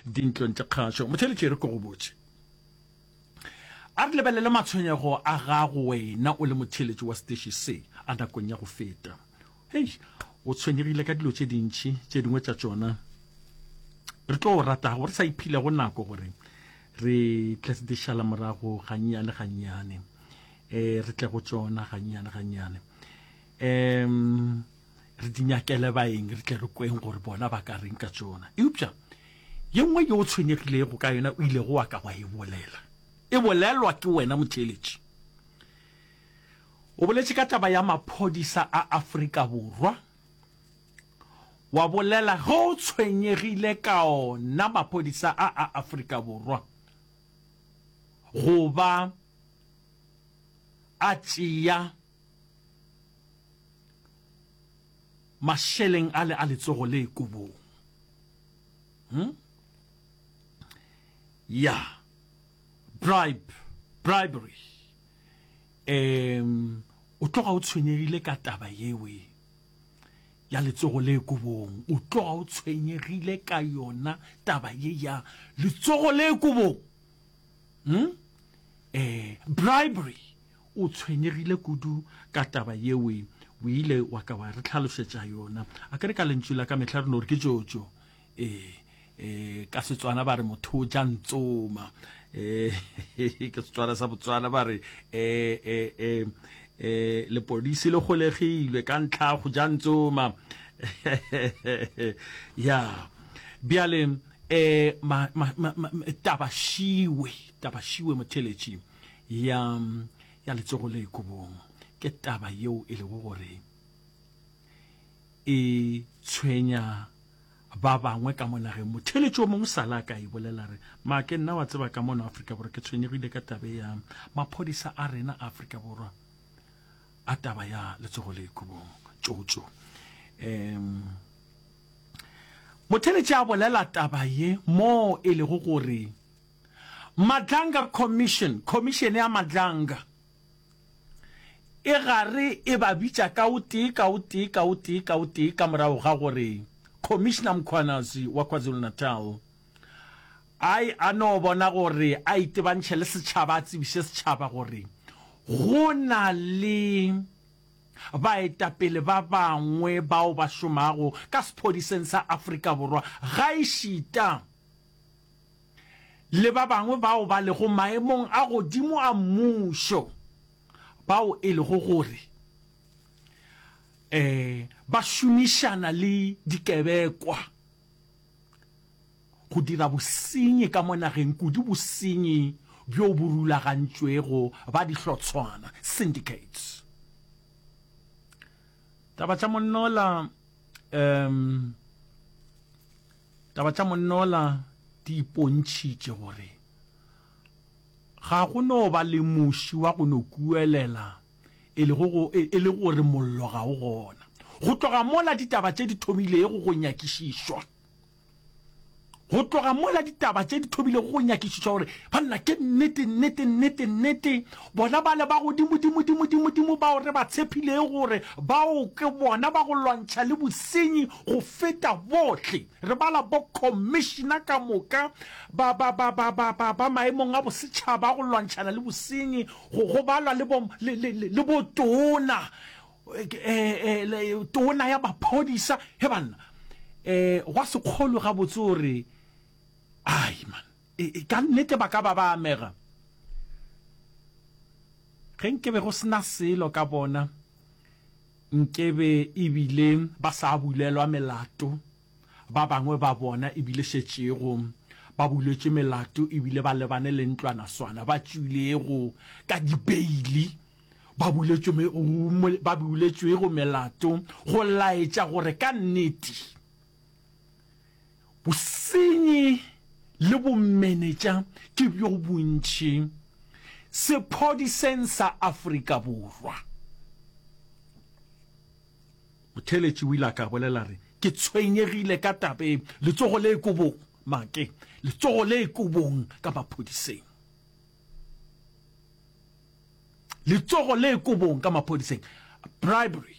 dintlong tša kgašo. Motheeletši e re ke go botše. A re lebelele matshwenyego a gago wena o le motheeletši wa steši se a nakong ya go feta. Hei, o tshwenyegile ka dilo tše dintši, tše dingwe tša tšona re tlo ratago re sa iphilego nako gore re tle di šala morago gannyane gannyane, um re tle go tšona gannyane gannyane, um re di nyakele baeng re tle re kweng gore bona ba ka reng ka tšona. Eupša ye nngwe ye o tshwenyegilego ka yona o ilego wa ka wa e bolela, e bolelwa ke wena motheeletši. O boletše ka taba ya maphodisa a Afrika Borwa, wa bolela ge o tshwenyegile ka ona maphodisa a a Afrika Borwa go ba a tšea mašeleng ale a letsogo le kobong. Hmm? Ya, bribe, bribery. Um, o tloga o tshwenyegile ka taba yewe ya letsogo le kobong. O tloga o tshwenyegile ka yona taba ye ya letsogo le kobong. Hmm? Eh, bribery. O tshwenyegile kudu ka taba yewe. O ile wa ka wa re tlhalošetša yona. A ke re ka lentšu la ka mehla re no re ke tšotšo. Ee, ee, ka Setswana ba re motho o ja ntsoma. Ee, ke Setswana sa Botswana ba re ee, ee, ee, ee, lepodisi le golegilwe ka ntlha ya go ja ntsoma. Ya, bjale ee, ma, ma, ma, ma, taba šiwe, taba šiwe motheletši ya, ya letsogo le kobong ke taba yeo e lego gore e tshwenya ba bangwe ka mo nageng. Motheeletši o mongwe sala a ka e bolela re, Make nna wa tseba ka mono Afrika Borwa ke tshwenyegile ka tabe ya maphodisa a rena a Afrika Borwa a taba ya letsogo le kobong tšotšo. Um motheeletši a bolela taba ye mo e lego gore Madlanga Commission, Khomišene ya Madlanga, e gare e ba bitša ka o tee ka o tee ka o tee ka o tee ka morago ga gore Commissioner Mkhwanazi wa KwaZulu-Natal a e a no bona gore a itebantšhe le setšhaba a tsebiše setšhaba gore go na le baetapele ba bangwe bao ba šomago ka sephodiseng sa Afrika Borwa gaešita le ba bangwe bao ba lego maemong a godimo a mmušo bao e lego gore um ba šomišana le dikebekwa go dira bosenyi ka mo nageng, kudu bosenyi bjo bo rulagantšwego ba dihlotshwana, syndicates. Taba tša monnola um Taba tša monnola di ipontšhitše gore ga go no ba le muši wa go no kuelela e lego go, e le gore mollo ga o gona. Go tloga mola ditaba tše di thomilego go nyakišišwa, go tloga mola ditaba tše di thomilego go nyakišišwa gore banna ke nnete, nnete, nnete, nnete, bona bale ba godimo-dimo-dimo-dimo-dimo bao re ba tshephilego gore bao ke bona ba go lwantšha le bosenyi go feta bohle. Re bala bo-commissioner ka moka ba, ba, ba, ba, ba, ba, ba maemong a bosetšhaba a go lwantšhana le bosenyi, go, go balwa le bo, le, le, le, le botona, e, e, tona ya maphodisa. He banna, e, gwa se kgolwe gabotse gore, ai man, e, e, ka nnete ba ka ba ba amega. Ge nke be go se na selo ka bona, Nkebe e bile ba sa bulelwa melato, ba bangwe ba bona e bile šetšego ba buletšwe melato e bile ba lebane le ntlwanaswana, ba tšwilego ka dibeili, ba buletšwe, ba buletšwego melato go laetša gore ka nnete bosenyi le bomenetša ke bjo bontši sephodiseng sa Afrika Borwa. Motheeletši o ile a ka bolela re, Ke tshwenyegile ka taba e, letsogo le kobong, make, letsogo le kobong ka maphodiseng. Letsogo le kobong ka maphodiseng. Bribery.